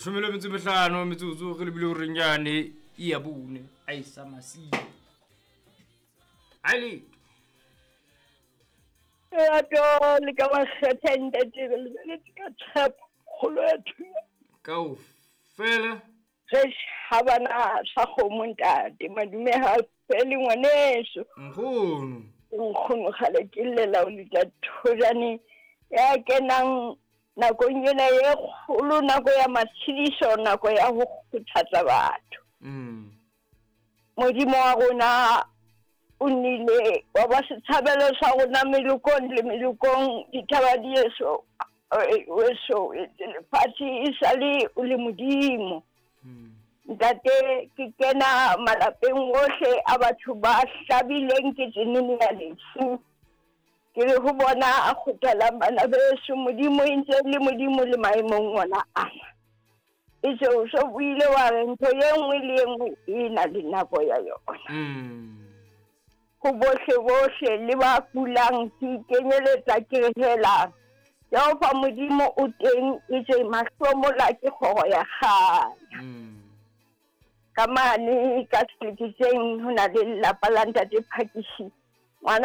Leshome le metso e mehlano metsotso re lebile horeng yane e ya bone a e sa masiu. Ha e letho. Lerato le ka makgethe ntate re lebeletse ka tshepo kgolo ya thunya. Kaofela. Re shabana sa kgomo ntate madume ha fele ngwaneso. Nkgono. Nkgono kgale ke llela o letsa thojane ya kenang nakong ena e kgolo, nako ya matshediso, nako ya ho kgothatsa batho. Modimo wa rona o nnile wa ba setshabelo sa rona melokong le melokong, dithaba di eso weso lefatshe e sale o le Modimo. Ntate, ke kena malapeng ohle a batho ba hlabileng ke tsenene ya lefu. Ke re ho bona a kgothalang bana beso, Modimo e ntse le Modimo le maemong ona ana. E se o so buile wa re ntho e nngwe le e nngwe e na le nako ya yona. Ho bohle bohle le ba kulang ke ikenyeletsa ke re hela Jehova Modimo o teng, e tse mahlomola ke kgoro ya kganya. Ka mane ka sehlekefeng ho na le lelapa la ntate Phakisi.